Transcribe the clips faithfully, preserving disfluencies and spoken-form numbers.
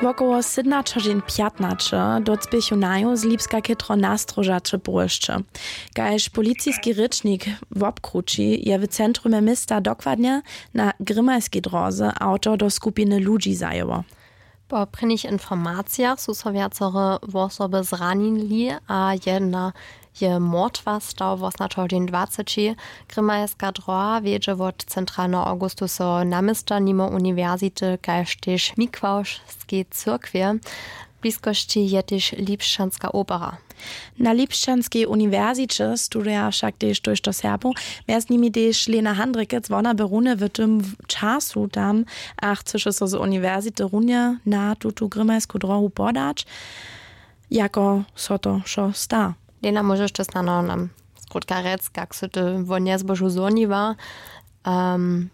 Wokoło sydnaćehodźin pjatnaće docpěchu naju z Lipska chětro na stróžaće połožće. Kaž policiski rěčnik wobkrući, je w centrumje města dokładnje na Grimajskej dróze awto do skupiny ludźi zajěło. Po prěnich informacijach su so wjacore wosoby zranili a jedna je mortwa stał wosnaćehodźin dwaceći. Grimajska dróha wjedźe wot centralneho awgustusoweho naměsta nimo uniwersity kaž tež mikławskej cyrkwje. W bliskosći je tež lipšćanska opera. Na lipšćanskej uniwersiće studuja wšak tež tójšto Serbow, mjez nimi tež Lena Handrikec. Wona by runje w tym času tam a chcyše so z uniwersity runje na tutu grimajsku dróhu podać. Jako so to wšo sta? Lena, móžeš to snano nam skrótka rjec, kak sy ty wo njezbožu zhoniła? Um,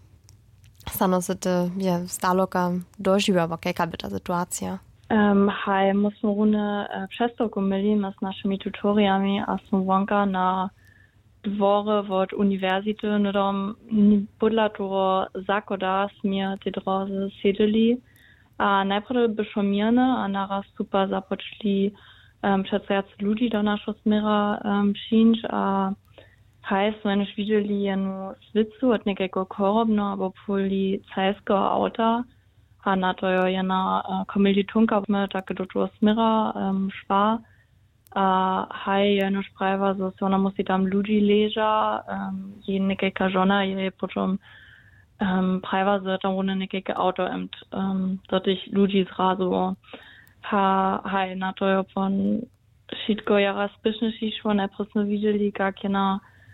snano sy ty je zdaloka dožiwała, kajka by ta situacija? Um, haj, my smy runje e, přestawku měli my z našimi tutorijami a smy wonka na dworje wot uniwersity hnydom podla toho zachoda směr tej drózy sjedźeli. A najprjedy by šło měrne a naraz su pa započli um, přeco wjac ludźi do našeho směra um, přińć a haj smy jenož widźeli jenu swěcu wot někajkeho chorobneho abo policajskeho awta. A na to jo jena uh, kommilitonka my tak do toho směra um, šła. A haj jenož prajiła zo so wona musi tam ludźi leža um, jej někajka žona je potom um, prajiła zo je tam runje někajke awto emt um, do tych ludźi zrazu. Ha haj na to jo pon wšitko jara spěšnje šišło, najprjedy smy widźeli kak jena